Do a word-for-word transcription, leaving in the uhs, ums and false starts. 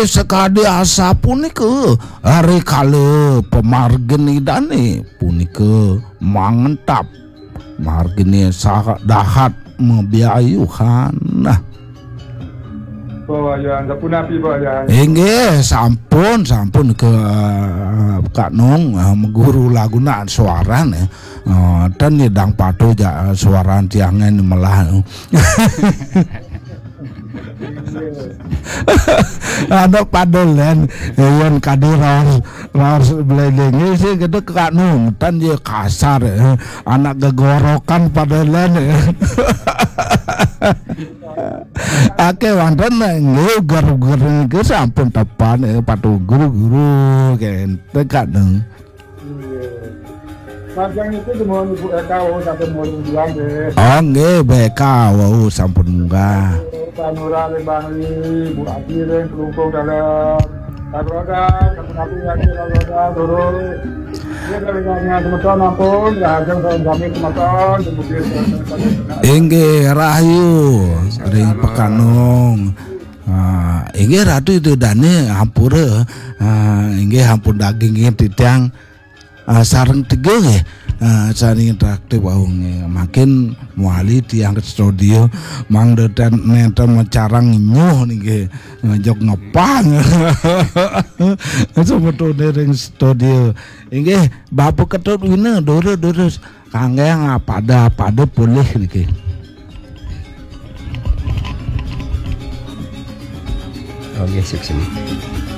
Sakadi asapunika, rikala pamargin Idane punika mangentap, margine sa-, dahat mabiayuhan. Nah. Bawayan, sapunapi bawayan? Inggih, sampun, sampun ke, eh, Kak Nung, eh, meguru laguna suaran, eh. Eh, ten nyidang patuh ja, eh, suaran tiange melah. Ada pada len, yen kadi raos, raos bledenge sih gede Kak Nung, ten ye kasar, eh. Anak gegorokan pada len, eh. Ake wonten nggih uger-uger niki sampun tepan, eh, patuh guru-guru kenten Kak Nung. Iya. Lajeng niku demen Ibu Eka wau sampun munggah nggih. Oh nggih, Ibu Eka wau sampun munggah. Pak Lurah ring Bangli, Bu Adi ring Klungkung Dalem. Pak Roda, sampun aku yakin Pak Roda, turun. Iya, dari kami semeton ampun, ya, ajeng salam kami semeton, kemudian Inggih, rahayu ring Pekanung. Ah, inggih Ratu Ida Dane ampura. Ah, inggih ampun daging titiang. Ah, sareng tiga nggih. Ah, saring interaktif wau nggih. Makin mawali tiang ke studio, mangda ten nenten macarang nyuh nggih. Ah, jog ngepang. Semetone ring studio. Inggih, Bapak Ketut Wina, durus-durus. Kangge pada-pada pulih niki. Oke, sip, sip.